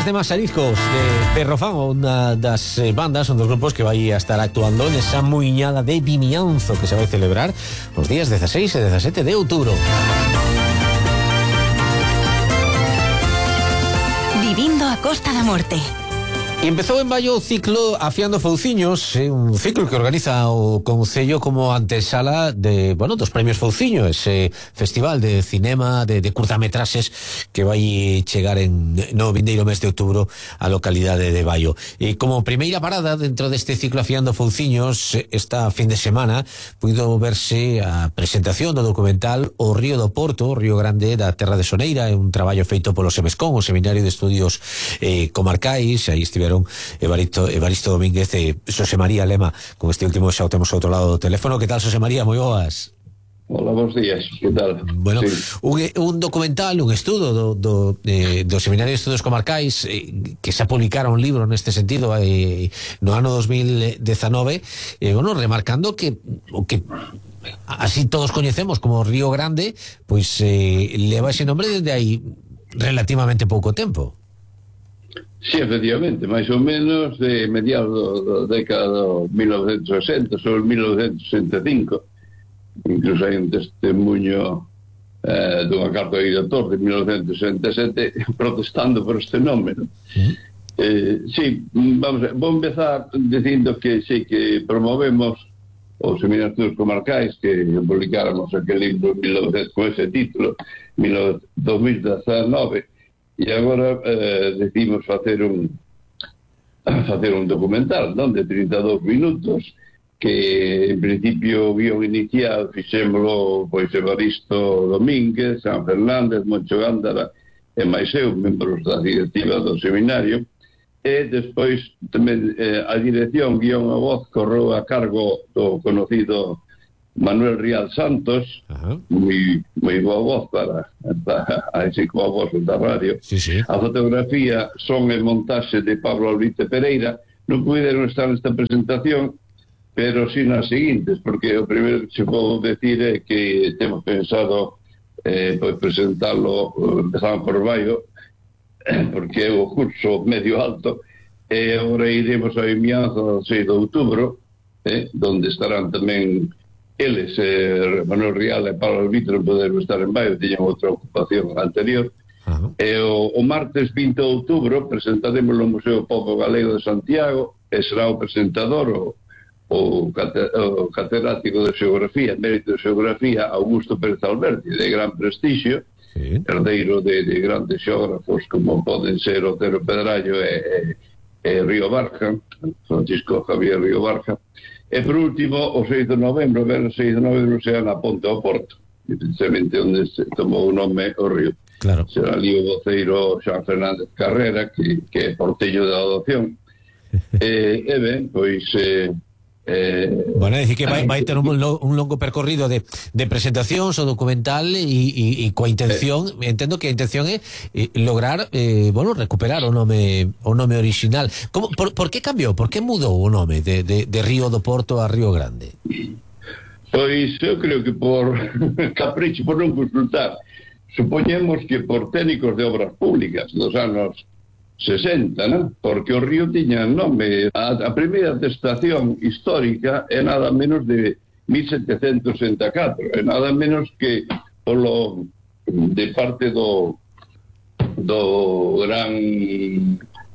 de Masarizcos de Perrofán, unha das bandas, un dos grupos que vai a estar actuando nesa muiñada de Vimianzo que se vai celebrar os días 16 e 17 de outubro. Vivindo a Costa da Morte. E empezou en maio o ciclo Afiando Fouciños, un ciclo que organiza o Concello como antesala de, dos premios Fouciño, ese festival de cinema de curtametraxes que vai chegar no vindeiro mes de outubro á localidade de Baio. E como primeira parada dentro deste ciclo Afiando Fouciños, esta fin de semana puido verse a presentación do documental O Río do Porto, o Río Grande da Terra de Soneira, un traballo feito polo SEMESCON, o Seminario de Estudios Comarcais. Aí estiveron Evaristo Domínguez e Xosé María Lema. Con este último xa o temos ao outro lado do teléfono. Que tal, Xosé María? Moi boas. Hola, bons días, que tal? Bueno, sí. un documental, un estudo do Seminario de Estudios Comarcais que xa publicara un libro neste sentido no ano 2019, remarcando que o que así todos coñecemos como Río Grande, pois leva ese nombre desde aí relativamente pouco tempo. Sí, efectivamente, máis ou menos de mediados da década de 1960, sobre 1965. Incluso hai un testemunho dunha carta de editor de 1967 protestando por este nome, ¿no? Sí, vou empezar dicindo que sí, que promovemos os Seminarios Comarcais, que publicáramos aquel libro con ese título 2019, e agora decidimos facer un documental, non, de 32 minutos, que en principio o guión inicial fixémolo pois Evaristo Domínguez, San Fernández, Moncho Gándara e máis eu, membros da directiva do seminario, e despois tamén a dirección guión a voz correu a cargo do conocido Manuel Rial Santos, moi boa voz para así como a voz da radio. Sí, sí. A fotografía, son e montaxe de Pablo Albite Pereira. Non puderon estar nesta presentación, pero sí nas seguintes, porque o primeiro que se podo decir é que temos pensado presentarlo, empezamos por Baio, porque é o curso medio alto, e agora iremos a Vimianzo 6 de outubro, donde estarán tamén eles, Manuel Rial e Pablo Albite, non poderon estar en Baio, tiñan outra ocupación anterior. E o martes 20 de outubro presentaremos no Museo Pobo Galego de Santiago, e será o presentador o catedrático de Xeografía, mérito de Xeografía, Augusto Pérez Alberti, de gran prestixio, sí, herdeiro de grandes xeógrafos como poden ser Otero Pedrallo e Río Barja, Francisco Javier Río Barja. E por último, o 6 de novembro, o 6 de novembro será na Ponte ao Porto, precisamente onde se tomou o nome o río. Claro. Será ali o voceiro San Fernández Carrera, que é porteño da adopción. E ben, pois... Bueno, é dicir que vai ter un longo percorrido de presentacións o documental e coa intención, entendo que a intención é lograr recuperar o nome original. Por que cambiou? Por que mudou o nome de Río do Porto a Río Grande? Pois eu creo que por capricho, por non consultar. Supoñemos que por técnicos de obras públicas dos anos 60, ¿no? Porque o río tiña nome. A primeira atestación histórica é nada menos de 1764, é nada menos que de parte do gran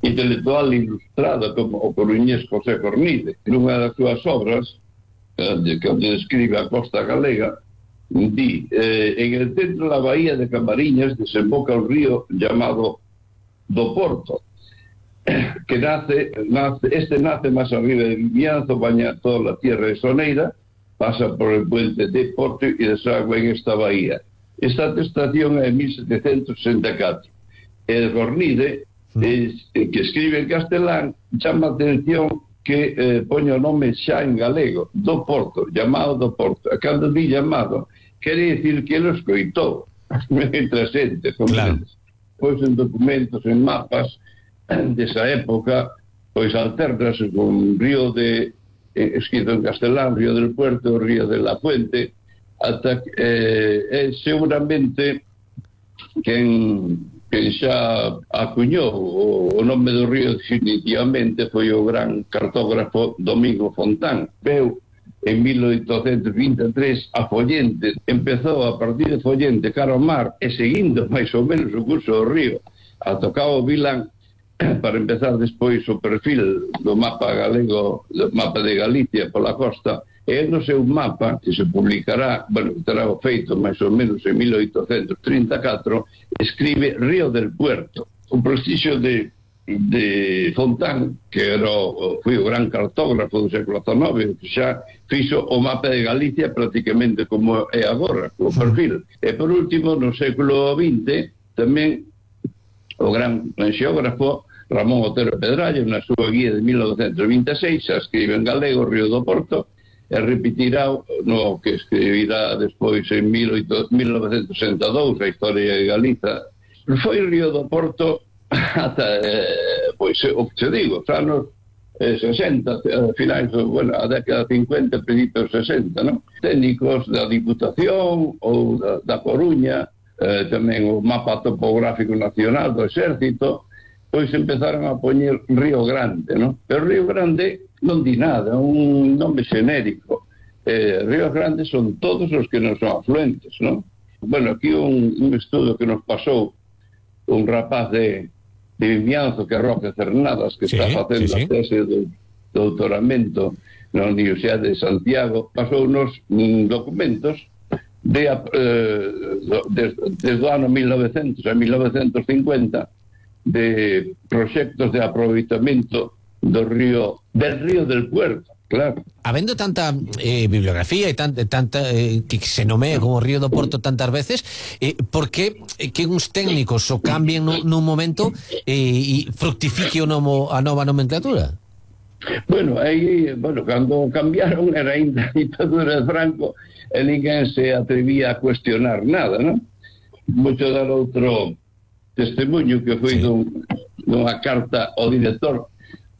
intelectual ilustrado como o coruñés José Cornide. Nunha das súas obras, que describe a costa galega, di, en el centro da bahía de Camariñas desemboca un río llamado do Porto, que nace máis arriba de Vimianzo, baña toda a tierra de Soneira, pasa por el puente de Porto e desagua en esta bahía. Esta atestación é 1764. El Cornide, que escribe en castelán, chama a atención que poña o nome xa en galego, do Porto, llamado do Porto. A cando di llamado, quere dicir que ele escoitou entre a xente, claro. Pois en documentos, en mapas desa época, pois alternase con río escrito en castelán, Río del Puerto, Río de la Fuente, ata seguramente quen que xa acuñou o nome do río definitivamente foi o gran cartógrafo Domingo Fontán. Veu en 1823 a Follente, empezou a partir de Follente cara ao mar e seguindo máis ou menos o curso do río a tocar o Vilán para empezar despois o perfil do mapa galego, do mapa de Galicia pola costa. E no seu mapa, que se publicará, bueno, terá o feito máis ou menos en 1834, escribe Río del Puerto. O prestigio de Fontán, que foi o gran cartógrafo do século XIX, que xa fixo o mapa de Galicia prácticamente como é agora, o perfil. E por último, no século XX, tamén o gran xeógrafo Ramón Otero Pedrallo, na súa guía de 1926, xa escribe en galego Río do Porto, e repetirá no que escribirá despois en 1962 a historia de Galiza. Foi Río do Porto ata, pois, o que te digo, os anos 60, finais, bueno, a década 50, principios 60, non? Técnicos da Diputación ou da Coruña, tamén o mapa topográfico nacional do Exército, pois empezaron a poñer Río Grande, non? Pero Río Grande non di nada, un nome xenérico. Ríos Grandes son todos os que non son afluentes, non? Bueno, aquí un estudo que nos pasou un rapaz de Vimianzo, que é Roque Cernadas, que está facendo a tese de doutoramento na Universidade de Santiago, pasou unos documentos desde o ano 1900 a 1950 de proxectos de aproveitamento del río del Puerto, claro. Habendo tanta bibliografía e tanta que se nomea como Río do Porto tantas veces, por que uns técnicos o cambien nun momento e fructifique a nova nomenclatura? Bueno, cando cambiaron era ainda a ditadura de Franco e ninguén se atrevía a cuestionar nada, non? Moito dar outro testemunho que foi dunha carta ao director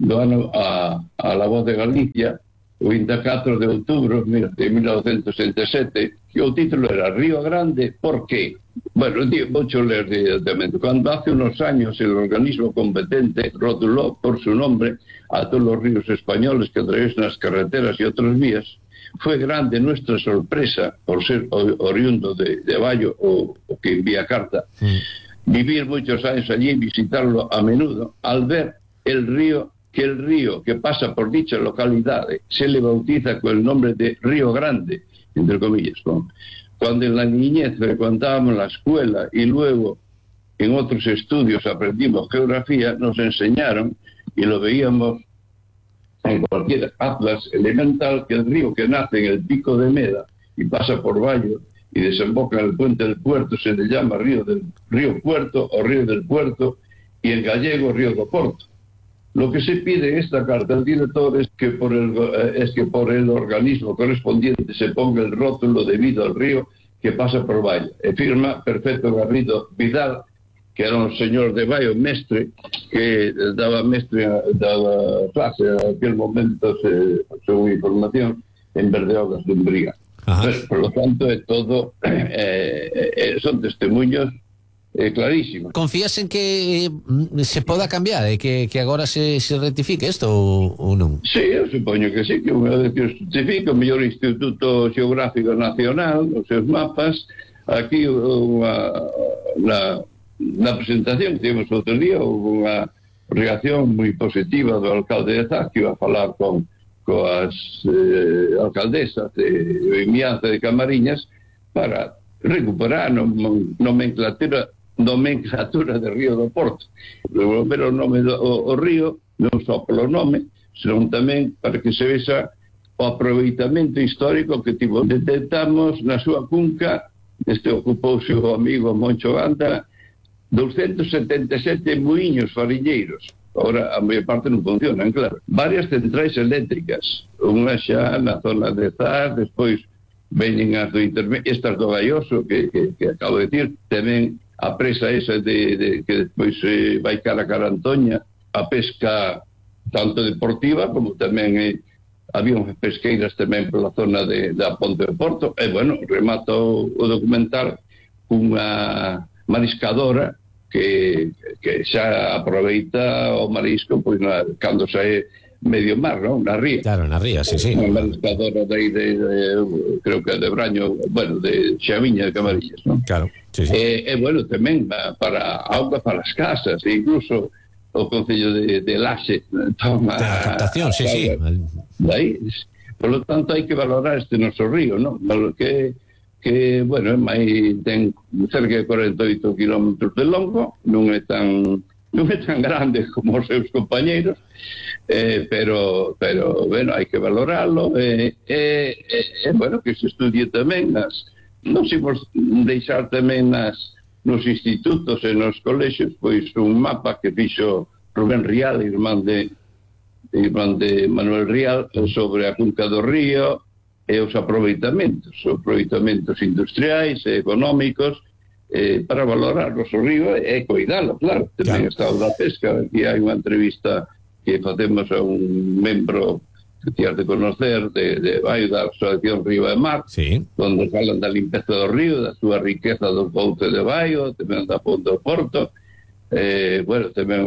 do ano a La Voz de Galicia, o 24 de outubro de 1967, que o título era Río Grande, ¿por qué? Bueno, vou ler directamente. Cuando hace unos años el organismo competente rotuló por su nombre a todos los ríos españoles que atraviesan las carreteras y otras vías, fue grande nuestra sorpresa por ser oriundo de Bayo o que envía carta, vivir muchos años allí y visitarlo a menudo, al ver el río que pasa por dicha localidad se le bautiza con el nombre de Río Grande, entre comillas, ¿no? Cuando en la niñez frecuentábamos la escuela y luego en otros estudios aprendimos geografía, nos enseñaron y lo veíamos en cualquier atlas elemental que el río que nace en el pico de Meda y pasa por Bayo y desemboca en el puente del Puerto se le llama Río Puerto o Río del Puerto y en gallego Río do Porto. Lo que se pide en esta carta al director es que por el organismo correspondiente se ponga el rótulo debido al río que pasa por Bayo. E firma Perfecto Garrido Vidal, que era un señor de Bayo, mestre, que daba clase en aquel momento, según información, en Berdeogas de Umbría. Pues, por lo tanto, todo son testimonios clarísimos. Confías en que se poda cambiar, que agora se rectifique isto ou non? Sí, eu supoño que sí, que unha vez que se rectifique o mellor Instituto Xeográfico Nacional, os seus mapas, aquí na presentación que tivemos outro día houve unha reacción moi positiva do alcalde de Zas, que iba a falar coas alcaldesas de Vimianzo de Camariñas para recuperar nomenclatura de Río do Porto. Pero o nome o río non só polo nome, senón tamén para que se vexa o aproveitamento histórico que tivo. Detectamos na súa cunca, ocupouse o amigo Moncho Ganta, 277 muiños fariñeiros. Ahora a maior parte non funcionan, claro. Varias centrais eléctricas, unha xa na zona de Zas, despois veñen as do intermedio, estas do Gaioso que acabo de decir, tamén a presa esa que despois vai cara a Antoña, a pesca tanto deportiva como tamén había unhas pesqueiras tamén pola zona da Ponte de Porto. E bueno, remato o documental cunha mariscadora que xa aproveita o marisco pois cando sae medio mar, non? Na ría. Claro, na ría, sí. Unha mariscadora de creo que de Braño, bueno, de Xaviña de Camarillas, non? Claro, sí. Bueno, tamén para auga para as casas, e incluso o Concello de Laxe toma... De a captación, sí. Daí, por lo tanto, hai que valorar este noso río, non? Que bueno, ten cerca de 48 kilómetros de longo, non é tan grande como os seus compañeiros, pero bueno, hai que valorarlo, bueno, que se estudie tamén non se imos deixar tamén nos institutos e nos colexios, pois un mapa que fixo Rubén Rial, irmán de Manuel Rial, sobre a cunca do río e os aproveitamentos industriais e económicos, para valorar o río e cuidalo, claro. Tamén está o da pesca. Aquí hai unha entrevista que facemos a un membro que tienes de conocer de Baio da Asociación Río e Mar, onde falan da limpeza do río, da súa riqueza do couce de Baio, tamén da Ponte do Porto. Bueno, tamén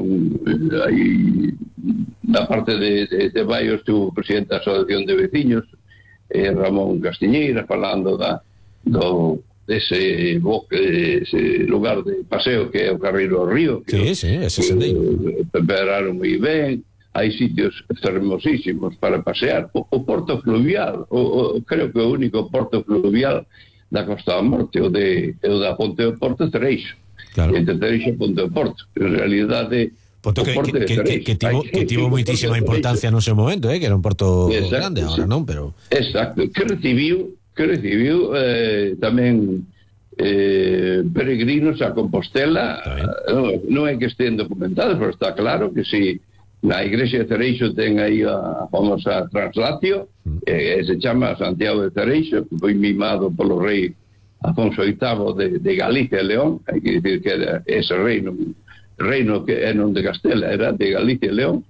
hai na parte de Baio estuvo o presidente da Asociación de Veciños, Ramón Castiñeira, falando dese lugar de paseo que é o Carreiro ao Río, que ese sendeiro prepararon moi ben. Hai sitios hermosísimos para pasear. O porto fluvial, creo que o único porto fluvial da Costa da Morte, o da Ponte do Porto, é Cereixo. Claro. Entre Cereixo e Ponte do Porto. En realidade, porto que tivo moitísima importancia no seu momento, que era un porto grande, agora non, pero... Exacto, que recibiu tamén peregrinos a Compostela. Non é que estén documentados, pero está claro que si na igrexa de Cereixo ten aí a famosa translatio, se chama Santiago de Cereixo, que foi mimado polo rei Afonso VIII de Galicia e León. Hai que dicir que era ese reino que é non de Castela, era de Galicia e León,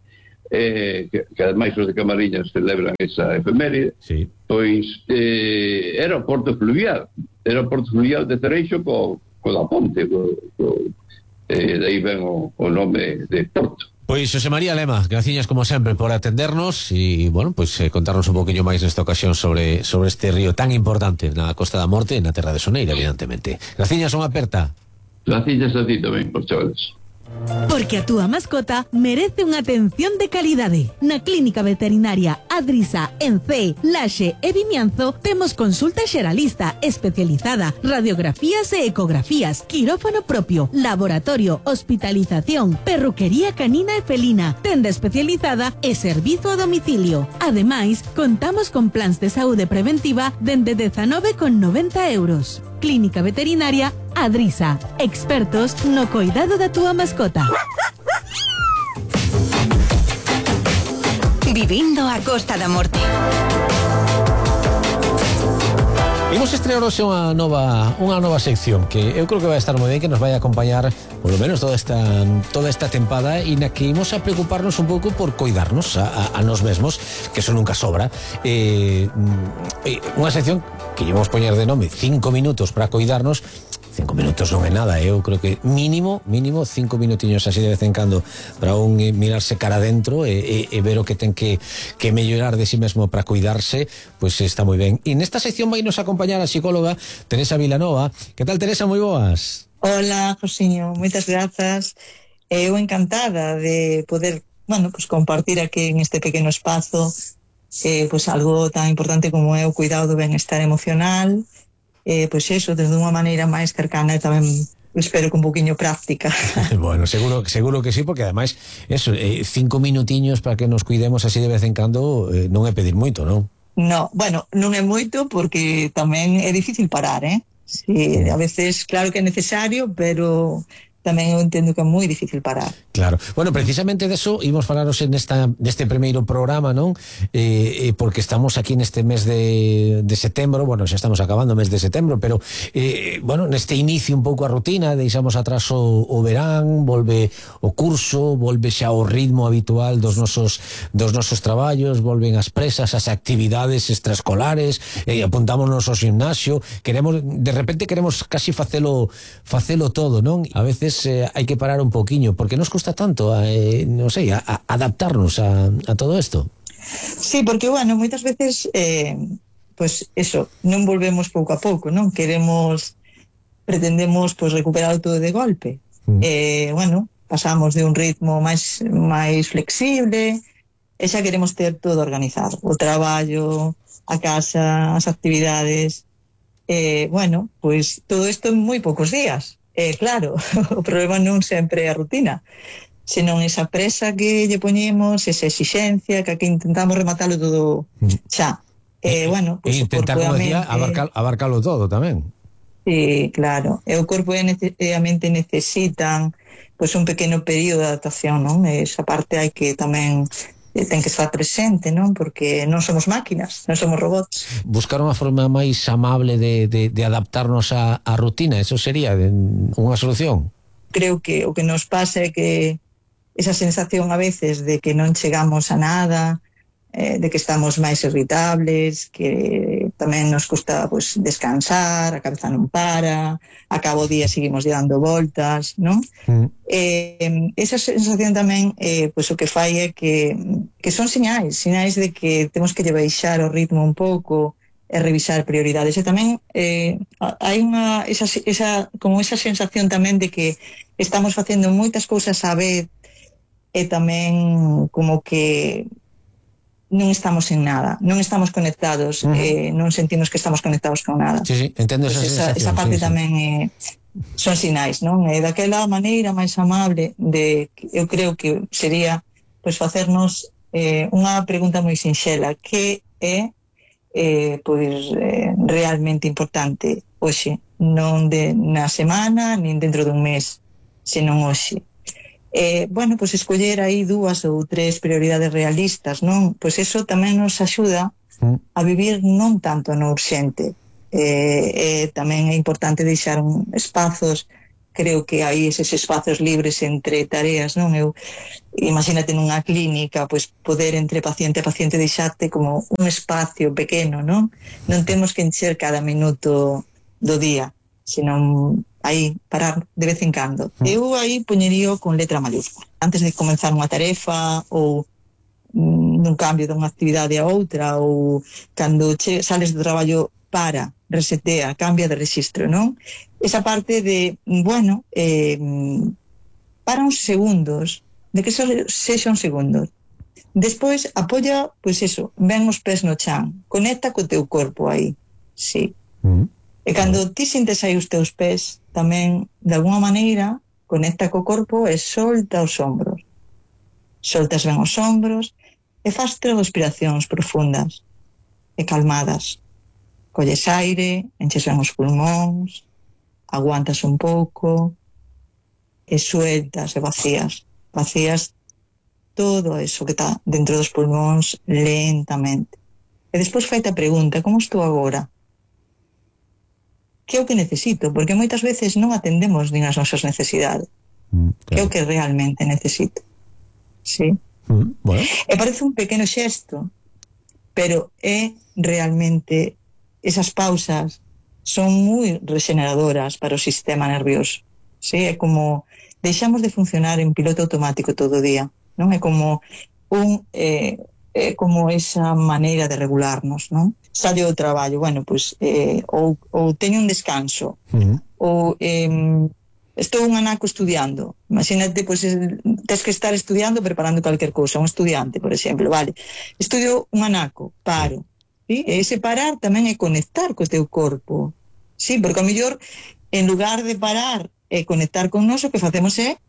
que ademais os de Camariñas celebran esa efeméride. Pois era o porto fluvial de Cereixo co da ponte, de aí ven o nome de porto. Pois Xosé María Lema, graciñas como sempre por atendernos e, bueno, pois contarnos un poquinho máis nesta ocasión sobre este río tan importante na Costa da Morte e na Terra de Soneira, evidentemente. Graciñas, unha aperta. Graciñas a ti tamén, por chavales. Porque a túa mascota merece unha atención de calidade. Na Clínica Veterinaria Adrisa, en Cee, Laxe e Vimianzo temos consulta xeralista especializada, radiografías e ecografías, quirófano propio, laboratorio, hospitalización, perruquería canina e felina, tenda especializada e servizo a domicilio. Ademais, contamos con plans de saúde preventiva dende 19,90 €. Clínica Veterinaria Adrisa, expertos no cuidado da túa mascota. Vivindo a Costa da Morte. Imos estrear hoxe unha nova sección que eu creo que vai estar moi ben, que nos vai acompañar polo menos toda esta tempada, e na que imos a preocuparnos un pouco por coidarnos a nos mesmos, que eso nunca sobra. Unha sección que llevamos poñer de nome 5 minutos para coidarnos. 5 minutos non é nada, eu creo que mínimo 5 minutiños así de vez en cando para un mirarse cara adentro e ver o que ten que mellorar de sí mesmo para cuidarse, pois está moi ben. E nesta sección vai nos acompañar a psicóloga Teresa Vilanova. Que tal, Teresa? Moi boas. Hola, Josiño, moitas grazas. Eu encantada de poder, pues compartir aquí en este pequeno espazo pues algo tan importante como é o cuidado do benestar emocional. Pois eso, desde unha maneira máis cercana e tamén espero que un poquinho práctica. Bueno, seguro que sí, porque ademais eso, 5 minutiños para que nos cuidemos así de vez en cando non é pedir moito, non? No, bueno, non é moito porque tamén é difícil parar, Sí, a veces claro que é necesario, pero tamén eu entendo que é moi difícil parar. Claro. Bueno, precisamente deso imos falaros neste primeiro programa, non? Porque estamos aquí neste mes de setembro, bueno, xa estamos acabando o mes de setembro, pero bueno, neste inicio un pouco a rutina, deixamos atrás o verán, volve o curso, volve xa o ritmo habitual dos nosos traballos, volven as presas, as actividades extraescolares, apuntámonos ao gimnasio, de repente queremos casi facelo todo, non? A veces veces hai que parar un poquinho, porque nos custa tanto, non sei, adaptarnos a todo isto. Sí, porque, bueno, moitas veces pues eso, non volvemos pouco a pouco, non? Pretendemos pues recuperar todo de golpe. Bueno, pasamos de un ritmo máis flexible e xa queremos ter todo organizado, o traballo, a casa, as actividades. Bueno, pues todo isto en moi poucos días. Claro, o problema non sempre é a rutina, senón esa presa que lle poñemos, esa exixencia, que aquí intentamos rematalo todo xa. Bueno, pues intentar, como decía, abarcalo todo tamén. Sí, claro. E o corpo e a mente necesitan pues un pequeno período de adaptación, non? Esa parte hai que tamén ten que estar presente, non? Porque non somos máquinas, non somos robots. Buscar unha forma máis amable de adaptarnos á rutina, eso sería unha solución. Creo que o que nos pasa é que esa sensación a veces de que non chegamos a nada, de que estamos máis irritables, que tamén nos custa pues descansar, a cabeza non para, a cabo día seguimos dando voltas, non? Esa sensación tamén pues o que fai é que son sinais de que temos que lle baixar o ritmo un pouco e revisar prioridades. E tamén hai esa sensación tamén de que estamos facendo moitas cousas á vez e tamén como que non estamos en nada, non estamos conectados, non sentimos que estamos conectados con nada. Sí, entendo esa sensación. Esa parte tamén son sinais, non? Daquela maneira máis amable eu creo que sería pues facernos unha pregunta moi sinxela, que é realmente importante hoxe, non na semana nin dentro dun mes, senón hoxe. Bueno, pues escoller aí 2 ou 3 prioridades realistas, non? Pois eso tamén nos axuda a vivir non tanto no urxente. Tamén é importante deixar espazos, creo que hai eses espazos libres entre tareas, non? Imagínate nunha clínica, pois poder entre paciente a paciente deixarte como un espacio pequeno, non? Non temos que encher cada minuto do día, senón aí parar de vez en cando. Eu aí poñerío con letra mayúscula. Antes de comenzar unha tarefa ou nun cambio dunha actividade a outra, ou cando sales do traballo, resetea, cambia de rexistro, non? Esa parte de, bueno, para uns segundos, de que sexan segundos. Despois apoia, pois eso, ven os pés no chan, conecta co teu corpo aí, sí. E cando ti sintes aí os teus pés, tamén, de alguna maneira, conecta co corpo e solta os ombros. Soltas ben os ombros e faz 3 respiracións profundas e calmadas. Colles aire, enches ben os pulmóns, aguantas un pouco e sueltas e vacías. Vacías todo eso que está dentro dos pulmóns lentamente. E despois faite a pregunta, como estou agora? Que é o que necesito? Porque moitas veces non atendemos nin as nosas necesidades. Claro. Que é o que realmente necesito. Sí? Bueno. E parece un pequeno xesto, pero é realmente, esas pausas son moi regeneradoras para o sistema nervioso. Sí? É como deixamos de funcionar en piloto automático todo o día, non? É como como esa maneira de regularnos, non? Sallo do traballo, bueno, pois ou teño un descanso, ou estou un anaco estudiando. Imagínate, pois tes que estar estudiando, preparando calquer cousa, un estudiante, por exemplo, vale. Estudio un anaco, paro. ¿Sí? E ese parar tamén é conectar co teu corpo. Sí, porque ao mellor, en lugar de parar e conectar con nós, o que facemos é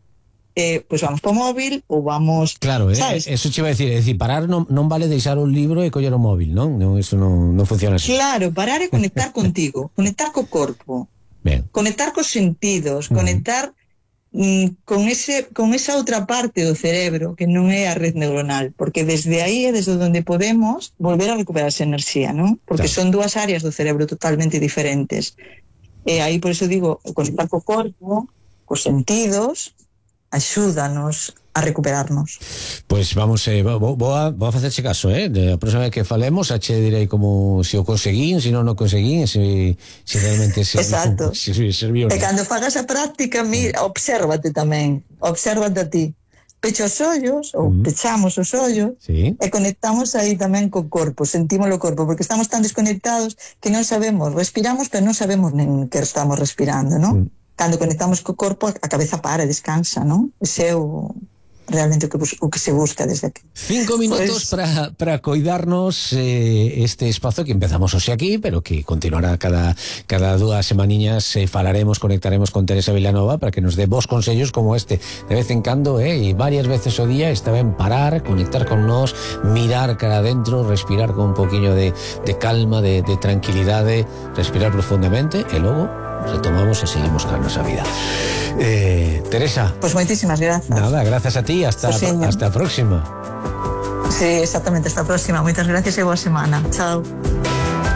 pues vamos po móvil ou vamos... Claro, eso che iba a decir, é dicir, parar non vale deixar un libro e coller o móvil, non? Eso non funciona así. Claro, parar é conectar contigo, conectar co corpo, conectar cos sentidos, conectar con esa outra parte do cerebro que non é a red neuronal, porque desde aí é desde onde podemos volver a recuperar esa enerxía, non? Porque son 2 áreas do cerebro totalmente diferentes. E aí, por eso digo, conectar co corpo, cos sentidos, axúdanos a recuperarnos. Pois vamos, vou a facerche caso, a próxima vez que falemos a che direi como se o conseguín, se non o conseguín, se realmente Exacto. se serviu. E cando fagas a práctica, obsérvate tamén, obsérvate a ti. Pecha os ollos, ou pechamos os ollos, sí, e conectamos aí tamén co corpo, sentimos o corpo, porque estamos tan desconectados que non sabemos, respiramos, pero non sabemos nen que estamos respirando, non? Cando conectamos co corpo, a cabeza para, descansa, non? Ese é realmente o que se busca desde aquí. 5 minutos para coidarnos este espazo que empezamos hoxe aquí, pero que continuará cada 2 semaniñas. Falaremos, conectaremos con Teresa Vilanova para que nos dé vos consellos como este de vez en cando, e varias veces o día está ben parar, conectar con nós, mirar cara adentro, respirar con un poquinho de calma, de tranquilidade, respirar profundamente e logo retomamos e seguimos con a nosa vida. Teresa, pues moitísimas grazas. Nada, gracias a ti, hasta a próxima. Sí, exactamente, hasta a próxima. Moitas gracias e boa semana. Chao.